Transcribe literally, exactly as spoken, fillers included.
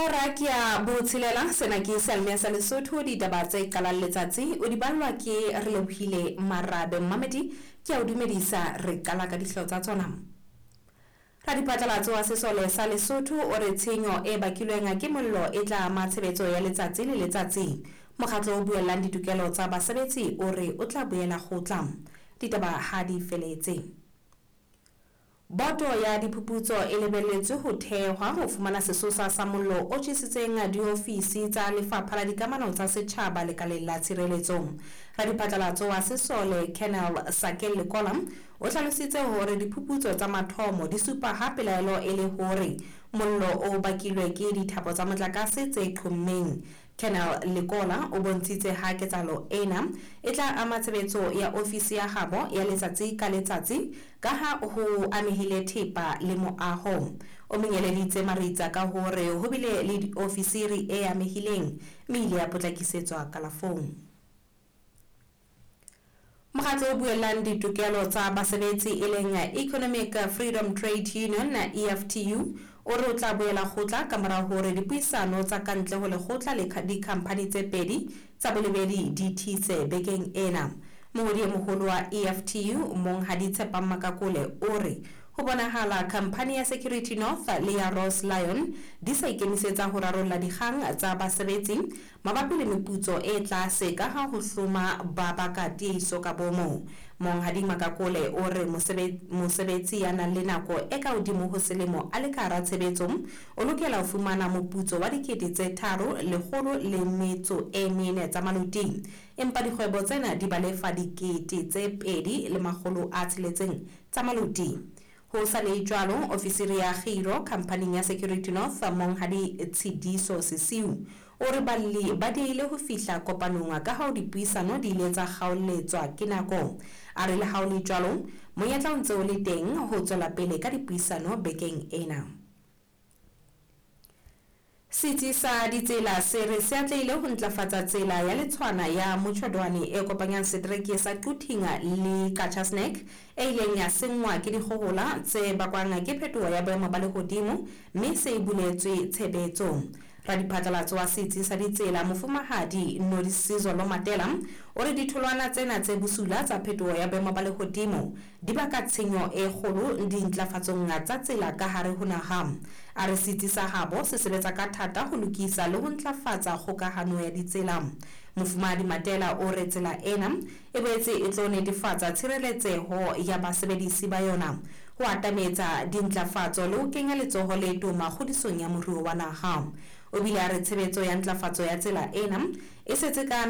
Hora ke ya botshelela, sena ke Seyalemoya sa Lesotho, ditaba tse qalang letsatsi o di ballwa ke Relebohile Marabe. Mmamedi ke a o dumedisa, re qala ka dihlooho tsa tsona. Radiphatlalatso wa sesole sa Lesotho o re tshenyo e bakilweng ke mollo e tla ama tshebetso ya letsatsi le letsatsi. Mokgatlo o buellang ditokelo tsa basebetsi o re o tla boela kgotla. Ditaba ha di feletse. Boto ya diphuputso e lebelletswe ho thehwa ho fumana sesosa sa mollo o tjhesitseng diofisi tsa Lefapha la Dikamano tsa Setjhaba lekaleng la Tshireletso. Radiphatlalatso wa sesole Colonel Sakel Lekola o hlalositse hore diphuputso tsa mathomo di supa ha pelaelo e le hore mollo o bakilwe ke dithapo tsa motlakase tse qhommeng. Colonel Lekola o bontshitse ha ketsahalo ena e tla ama tshebetso ya ofisi ya habo ya letsatsi ka letsatsi ka ha ho amehile thepa le moaho. O monyeleditse maritsa ka hore ho bile le ofisiri e amehileng mme ile ya potlakisetswa kalafong. Mokgatlo o buellang ditokelo tsa basebetsi e leng Economic Freedom Trade Union E F T U o re o tla boela kgotla ka mora hore dipuisano tsa kantle ho lekgotla le dikhamphani tse pedi tsa bolebedi di thitse bekeng ena. Mongodi e moholo wa E F T U Monghadi Tshepang Makakole o re ho bonahala khamphani ya Security North le ya Ross Lion di sa ikemisetsa ho rarolla dikgang tsa basebetsi mabapi le meputso e tlase ka ha ho hloma ba baka tiiso ka bomo. Monghadi Makakole o re mosebetsi ya nang le nako e ka hodimo ho selemo a le ka hara tshebetso o lokela ho fumana moputso wa dikete tse tharo lekgolo le metso e mene tsa maluti, empa dikgwebo tsena di ba lefa dikete tse pedi le makgolo a tsheletseng tsa maluti. Ho sa le jwalo, ofisiri ya kgiro khamphaning ya Security North Monghadi Tshidiso Sesiu o re balli ba diehile ho fihla kopanong ka ha dipuisano di ile tsa kgaoletswa ke nako. A re le ha ho le jwalo, monyetla o ntse o le teng ho tswela pele ka dipuisano bekeng ena. Setsi sa ditsela se re se atlehile ho ntlafatsa tsela ya Letshwana ya Motjhodwane e kopanyang setereke sa Quthing le Qacha's Nek e ileng ya senngwa ke dikgohola tse bakwang ke phetoho ya boemo ba lehodimo mme se e buletswe tshebetso. Radiphatlalatso wa setsi sa ditsela Mofumahadi Nodisizolo Matela o re ditholwana tsena tse bosula tsa phetoho ya boemo ba lehodimo di baka tshenyo e kgolo dintlafatsong tsa tsela ka hare ho naha. A re setsi sa habo se sebetsa ka thata ho lokisa le ho ntlafatsa kgokahano ya ditsela. Mofumahadi Matela o re tsela ena e boetse e tlo netefatsa tshireletseho ya basebedisi ba yona, ho atametsa dintlafatso le ho kenya letsoho le toma kgodisong ya moruo wa naha. O bile a re tshebetso ya ntlafatso ya tsela ena e setse ka